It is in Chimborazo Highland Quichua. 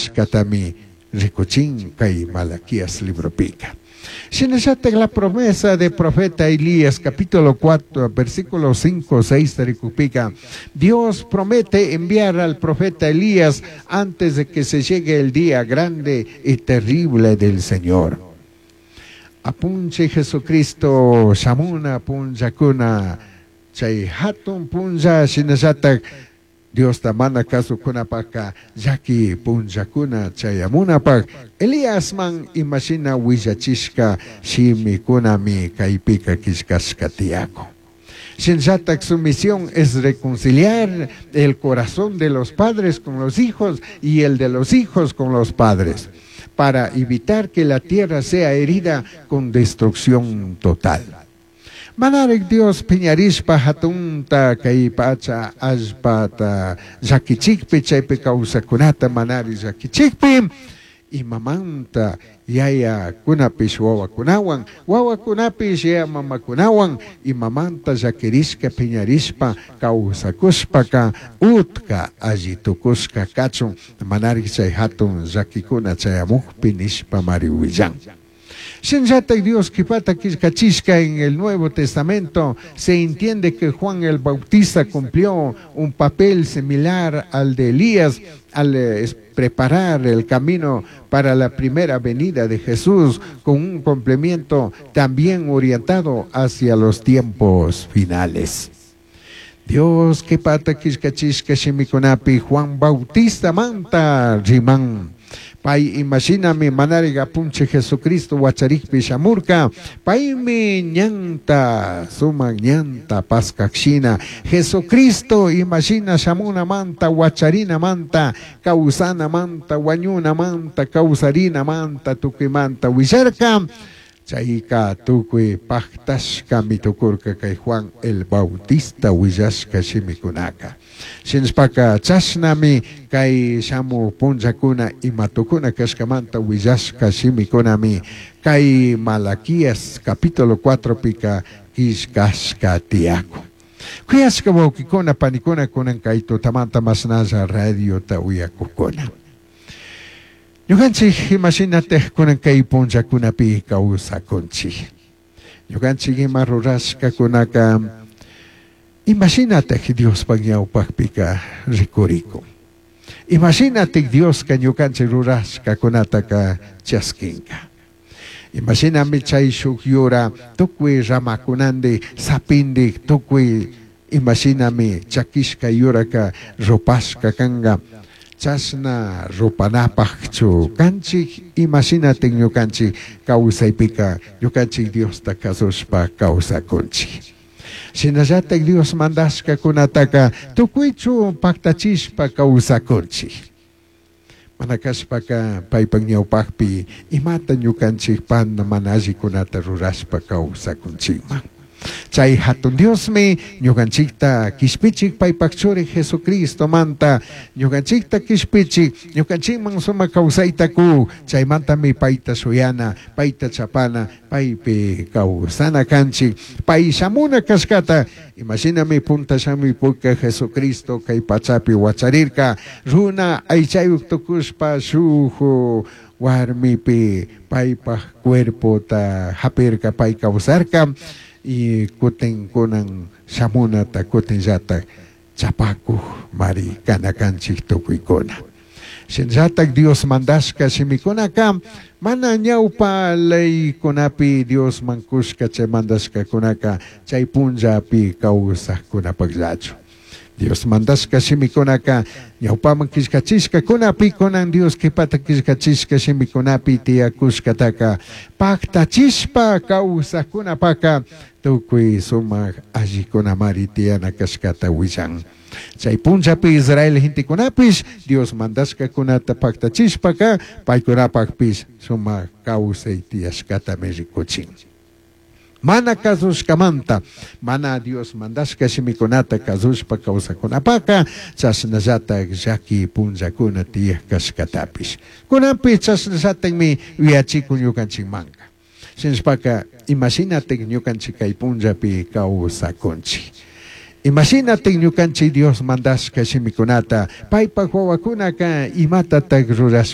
Cashcatami ricuchin kay Malaquías libropika. Shinallatak la promesa de profeta Elías, capítulo 4, versículo 5, 6 rikupika, Dios promete enviar al profeta Elías antes de que se llegue el día grande y terrible del Señor. Apunchij Jesucristo shamuna punllakuna chay hatun punlla shinallatak Diosta mana kasukunapaka llaki punllakuna chayamunapak Eliasman imashina willachishka shimikunami kaypika killkashka tiyakun. Shinallatak su misión es reconciliar el corazón de los padres con los hijos y el de los hijos con los padres, para evitar que la tierra sea herida con destrucción total. Manarik Dios piñarishpa hatunta kay pacha allpata llakichikpi chaypi kawsakunata manari llakichikpi imamanta yayakunapish wawakunawan wawakunapish yaya mamakunawan imamanta llakirishka piñarishpa kawsakushpaka utka alli tukushka kachun manarik chay hatun llakikuna chayamukpi nishpa mari willan. Shinallatak Dios kipata killkachishka en el Nuevo Testamento se entiende que Juan el Bautista cumplió un papel similar al de Elías al preparar el camino para la primera venida de Jesús con un complemento también orientado hacia los tiempos finales. Dios kipata killkachishka shimikunapi Juan Bautista manta riman. Pay imashinami manarik apunchij Jesucristo wacharikpi shamurka, paymi ñanta, sumak ñanta paskakshina. Jesucristo imashina shamunamanta, wacharinamanta, kawsanamanta, wañunamanta, kawsarinamanta, tukuymanta willarka. Chayka tukuy paktashkami tukurka kay Juan el Bautista willashka shimikunaka. Shinashpaka chashnami kay shamu punllakuna imatukuna kashkamanta willashka shimikunami kay Malaquías capítulo 4 pika killkashka tiyakun. Kuyashka wawkikuna panikuna kunan kay tutamanta mashnalla radiota uyakukuna. Ñukanchik imashinataj kunan kay punllakunapi kawsakunchik. Ñukanchik ima rurashkakunaka imashinataj Diospaj ñawpakpika rikurikun. Imashinataj Dioska ñukanchik rurashkakunataka chaskinka. Imashinami chay shuk yura tukuy ramakunandi sapindik tukuy imashinami chakishka yuraka rupashka kanka. Chashna rupanapajchu kanchik imashinatik ñukanchik kawsaypika ñukanchik Diosta kasushpa kawsakunchik. Shinallatak Dios mandashkakunataka tukuychu paktachishpa kawsakunchik. Mana kashpaka paypak ñawpakpi imata ñukanchik panda mana allikunata rurashpa kawsakunchikman. Chay hatun Diosmi ñukanchikta kishpichik paypak churi Jesucristo manta ñukanchikta kishpichik ñukanchikman sumak kawsayta ku chaymantami payta shuyana payta chapana paypi kawsana kanchik pay shamuna kashkata imashinami punta shamuypuka Jesucristo kay pachapi wacharirka runa aychayuk tukushpa shuk warmipi paypak cuerpota hapirka pay kawsarka y kutin kunan shamunata kutinllatak chapakuj mari kanakanchik tukuykuna. Shinallatak Dios mandashka shimikunaka mana ñawpa leykunapi Dios mankushka chay mandashkakunaka chay punllapi kawsajkunapakllachu. Dios mandashka shimikunaka ñawpaman killkachishkakunapi kunan Dios kipata killkachishka shimikunapi tiyakushkataka paktachishpa kawsajkunapaka tukuy sumak allikunamari tiyana kashkata willan. Chay punllapi Israel gentekunapish Dios mandashkakunata paktachishpaka paykunapakpish sumak kawsay tiyashkatami rikuchin. Mana kasushkamanta, mana Dios mandashka shimikunata kasushpa kawsakunapaka, chashnallatak llaki punllakuna tiyaj kashkatapish. Kunanpi chashnallatakmi yuyachikun ñukanchikmanka. Shinashpaka imashinatak ñukanchik kay punllapi kawsakunchik. Imashinatak ñukanchik Dios mandashka shimikunata, paypak wawakunaka imatatak rurashpa.